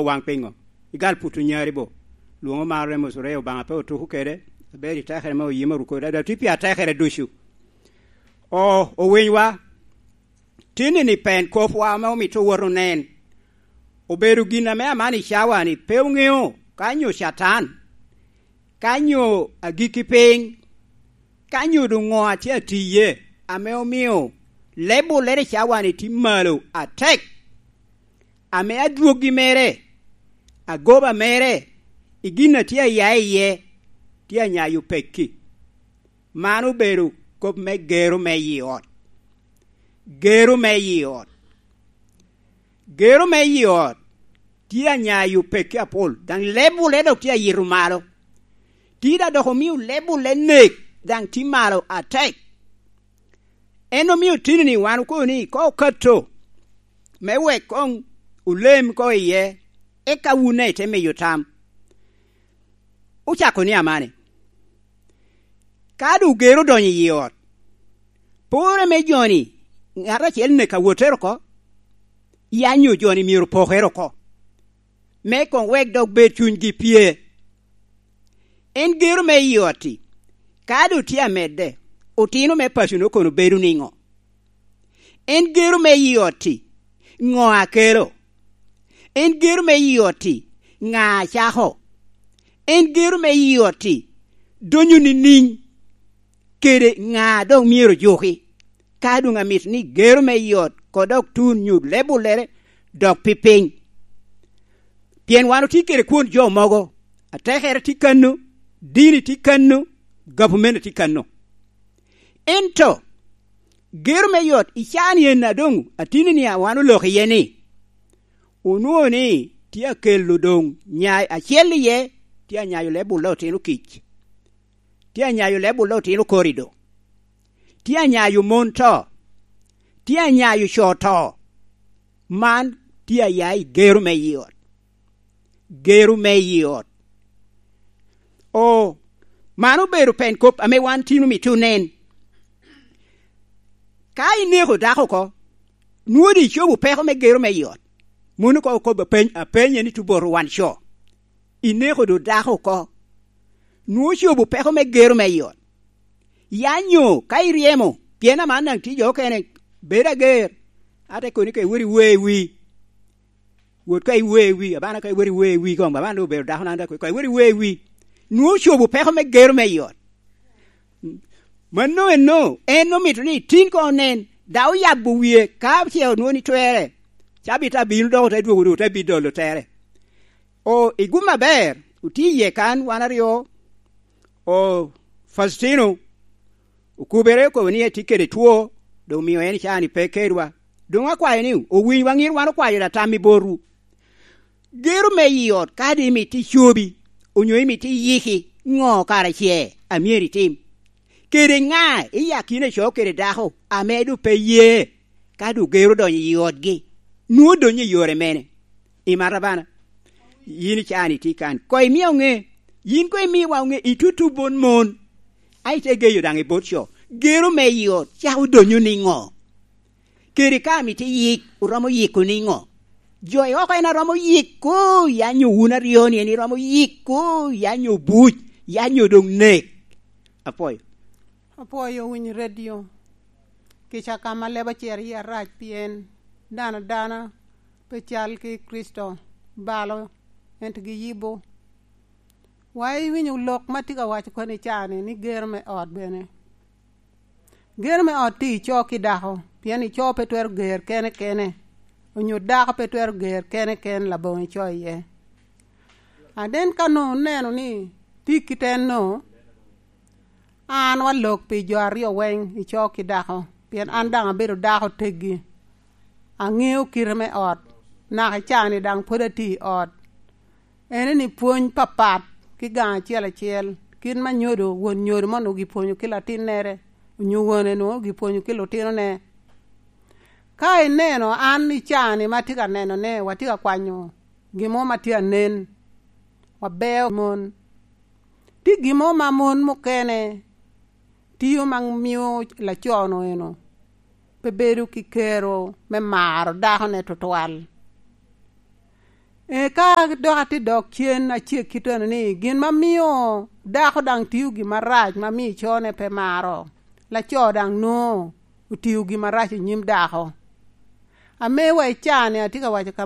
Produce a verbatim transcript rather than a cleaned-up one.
Owaŋ piŋo? Igal puto nyari bo. Lwoŋo mar Remus oreo Obaŋa pe otuko kede, aber i tekere me oyima oruko, dada tye pi atekere ducu. O, owinywa, tinni ni pen kopwa ame omito wot onen. Obedo gin ame aman i cawa-ni pe oŋeo ka nyo Catan, ka nyo agikki piny, ka nyo doŋ ŋo a tye atiye ame omio leb olere i cawa-ni tye malo atek, ame adwoggi mere, agoba mere, i gin a tye aya iye, tye anyayo pekki. Man obedo kop me gero me i ot. Gero me i ot. Gero me i ot tye anyayo pekki apol, daŋ leb olere dok tye ayito malo. Tye da dok omio leb olere nek, daŋ tye malo atek. En omio tini ni wan okobo ni ka okato me wek koŋ olem ko iye, eka wun daŋ ite miyo tam. Ocako ni amane, ka doŋ ogero odonyo i ot, pore me joni, ŋat acel nek awottere oko, ya nyo joni myero opokere oko, me koŋ wek dok bed cunygi pye. En gero me i ot-ti, ka doŋ tye amedde, otino me paco-nu kono bedo niŋo? En gero me i ot-ti, ŋo a kelo? En gero me i ot-ti, ŋa a cako? En gero me i ot-ti, donyo nining? Kede ŋa a doŋ myero juki? Ka doŋ amito ni gero me i ot koŋ dok tun nyo leb olere dok pi piny. Pien wan otye kede kwon jo mogo, atekere tye kano, dini tye kano, gavumenti tye kano. Ento gero me i ot i caa-ni en a doŋ atini ni a wan oloko iye ni, onwoŋo ni tye akelo doŋ nyai acel iye, tye anyayo leb olle otino kic, tye anyayo leb olle otino korido, tye anyayo mon to, tye anyayo co to. Man tye aya i gero me i ot. Gero me i ot. O, man obedo pen kop ame wan tin omito onen. Ka ineko dako oko, nwoŋo doŋ icobo peko me gero me i ot. Mano koŋ okobo apeny, apenye ni tuboto wan co. Ineko doŋ dako oko, nwoŋo ocobo peko me gero me i ot. Ya nyo ka iryemo, pien aman daŋ tye jo okene, bed ager, ate koni ka iwot iwe wi. Wot ka iwe wi, abana ka iwot iwe wi koŋ, abana doŋ obedo dako nan, ka iwot iwe wi. Nwoŋo ocobo peko me gero me i ot. Mano eno, en omito ni tin koŋ onen, daŋ oyabo wie, ka ce onwoŋo ni twerre, cabit abino dok ote dwogo doŋ ote bidolo tere. O, i gum aber, otye iye kan wan aryo, o, Faustino okubere okobo ni etye kede two, doŋ omio en caa-ni pe kedwa. Doŋ akwayo ni, owiny waŋ in wan okwayo da tam i botwu. Gero me i ot, ka doŋ imito icobi, onyo imito iyiki, ŋo kara ce a myero itim? Kede ŋa i akina co kede dako ame doŋ pe ye, ka doŋ gero donyo i otgi, nwoŋo donyo i yore mene? Imata bana, yin i caa-ni tye kan, koŋ imio ŋe, yin koŋ imiwa ŋe, itutu bot mon, a ite geyo daŋ i bot co. Gero me i ot cako donyo niŋo? Kede ka amito iyik, oromo yiko niŋo? Jo i oko en aromo yiko, ya nyo wun aryo-ni en iromo yiko, ya nyo buc, ya nyo doŋ nek? Apwoyo. Apwoyo winyo redio. Kica ka ma leb ocer iye arac pien dano dana pe cal ki Kricito, balo, ento giyibo. Wa iwinyo lok ma tye ka waco koni caa-ni, ni gero me ot bene. Gero me ot tye i co ki dako, pien i co pe twero ger kene kene, onyo dako pe twero ger kene ken laboŋo i co iye. Aden ka nwoŋo oneno ni tye kit enno, an wa lok pi jo aryo weng i co ki dako, pien an daŋ abedo dako teggi. Aŋeo kite me ot, naka i caa-ni daŋ pwod atye i ot. Ene ni pwony papat ki gaŋ acel acel, kit ma nyodo, won nyodo mo onwoŋo gipwonyo ki latinnere, onyo wone onwoŋo gipwonyo ki lutinone. Ka ineno an i caa-ni ma atye ka nenone, watye ka kwanyo gin mo ma tye anen, wabeo mon. Tye gin mo ma mon mukene tiyo ma mio laco-nu eno pe bedo ki kero me maro dakone tutwal. Eka dok atye dok cen acek kit eno ni, gin ma mio dako daŋ tio gin marac ma mio cone pe maro, laco daŋ nwoŋo otio gin marac i nyim dako. Ame wa i caa-ni atye ka waco ka